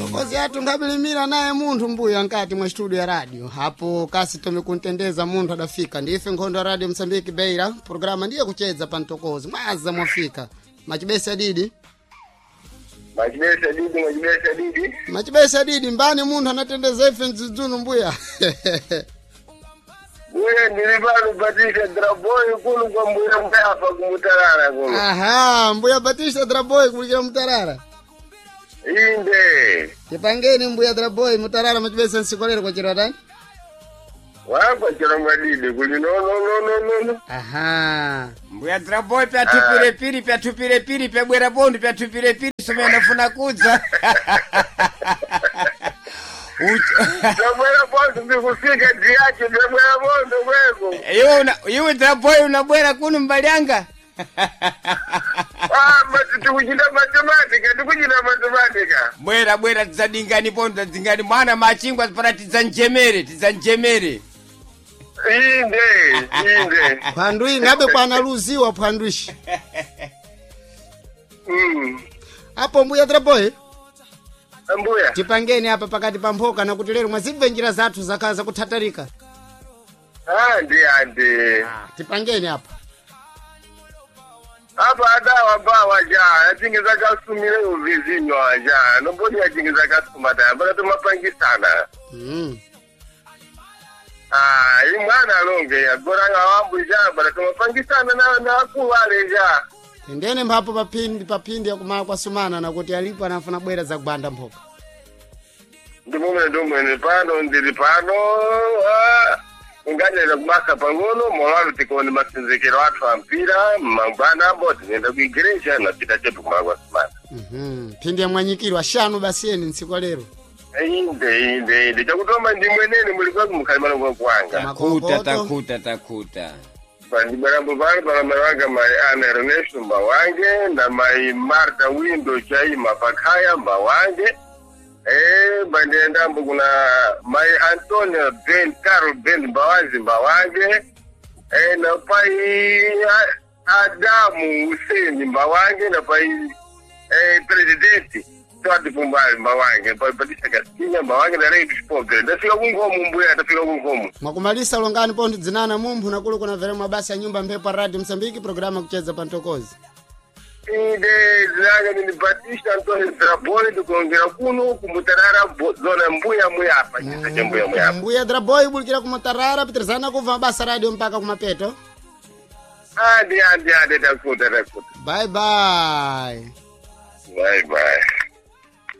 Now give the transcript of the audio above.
Tokozi yathu ngabilimira naye munthu mbuya nkati mwa studio ya radio hapo kasi tomikuntendeza munthu adafika ndife nkhondo ya radio Msambiki Beira programa ndiye kuchedza pa mtokozi mwaza mwafika machibesi adidi. Machibesi adidi, machibesi adidi. Machibesi adidi mbani munthu anatendeza ife mdzidzunu mbuya. Mbuya ndili pano Batista Draboy kuno kwa mbuya mbafa kumutarara kuno. Aha, mbuya Batista Draboy kulikira mutarara. Inde. Tipangeni mbuya Draboy mutarara machibesi nsikolero kwa chiratani. Wapa chirongwa didi kuli no no no no no no. Aha. Mbuya Draboy pyatupire piri pyatupire piri pyabwera pondu pyatupire piri somene ndafuna kudza. Ndabwera pondu ndikufika diyache ndabwera pondu kweko. Iwe una iwe Draboy unabwera kuno mbalyanga. Ah, mati tikuchita matematika tikuchita matematika. Bwera bwera tidzadingani pondu tadzingani mwana machingwa para tidzanjemere tidzanjemere. Inde, inde. Phwandwi ngabe kwanaluziwa phwandwishi. Apo mbuya Draboy Mbuya. tipangeni apa pakati pa mphoka na kuti lero mwazibve njira zathu zakhala zakuthatarika. Andi andi. Tipangeni apa. Apa adawa bawa ja, achinge zakasumire uvizinyo ja, nobody achinge zakasuma ta, baka tumapangisana. Ah, imwana alonge agora ngawambu ja, baka tumapangisana na na akuwale ja. Tendene mphapo paphindi paphindi yakumala kwasumana na kuti alipo anafuna bwera zakubanda mphoka. Ndimumene ndimwene pano ndili pano, ah, unganena kumasa pang'ono molalo tikuone masinzikiro athu ampira mangwana ambo tinenda kuigereja napita chetu kumala kwasumana. Phindi yamwanyikiro ashanu basiyeni ntsiku lero. Inde inde inde chakutoma ndimwenene muli kwaku mukhalimano kwakuwanga. Takuta takuta takuta. Pandibwerambo pano pana mai wanga mai Ana Ernesto Mbawange na mai Marta Windo Chaima Pakhaya Mbawange. Bandiendambo kuna mai Antonio Ben Carol Ben Mbawazi Mbawange. Na pai Adamu Hussein Mbawange na pai presidenti Twati Pumbali Mbawange pai Batista Kastinha Mbawange na Rei dos Pobres. Ndafika kungomo mbuya, ndafika kungomo. Mwakumalisa longani pontho dzinana mumphu nakulu kuna vere mabasa ya nyumba mphepo ya radio Msambiki programa kucheza pa ntokozi. Inde zinanga ndini Batista Antonio Draboy ndikuongera kuno kumutarara zona mbuya muyapa chisa cha mbuya muyapa. Mbuya Draboy bulikira kumutarara pitirizana kubva mabasa radio mpaka kumapeto. Andi andi andi takuta takuta. Bye bye. Bye bye.